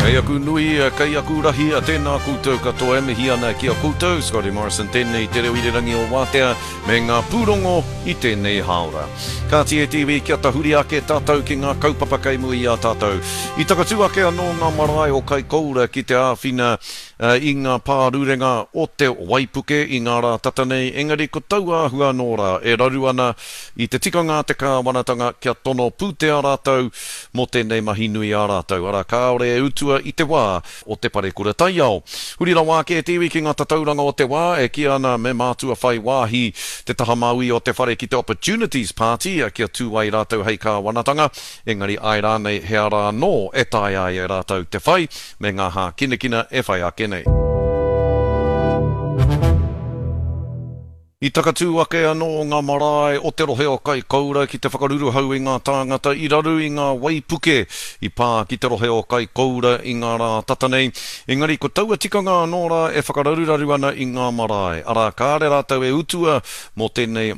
Kei aku nui, kei aku rahi, tēnā koutou katoa e mihi ana ki a koutou, Scotty Morrison tēnei te reo irirangi o Wātea me ngā pūrongo i tēnei hāora. Kāti e te iwi kia tahuri ake tātou ki ngā kaupapa kei mua i a tātou. I takatū ake anō ngā marae o Kaikoura ki te āwhina i ngā pārurenga o te waipuke i ngā rā tata nei, engari ko taua āhua anō rā e raru ana i te tikanga a te kāwanatanga kia tono pūtea rātou mō tēnei mahi nui a rātou, arā, kāore e utua i te wā o te parekura taiao. Huri rawa ake te iwi ki ngā tatauranga o te wā e kīia ana me mātua whai wāhi te taha māui o te whare ki te Opportunities Party kia tū ai rātou hei kāwanatanga, engari āe rānei he ara anō e taea ai e rātou te whai me ngā hākinakina e whai ake nei. I takatū ake anō ngā marae o te rohe o Kaikoura ki te whakaruruhau i ngā tāngata i raru i ngā waipuke i pā ki te rohe o Kaikoura i ngā rā tata nei. Engari ko taua tikanga anō rā e whakararuraru ana i ngā marae, arā kāre rātou e utua mō tēnei.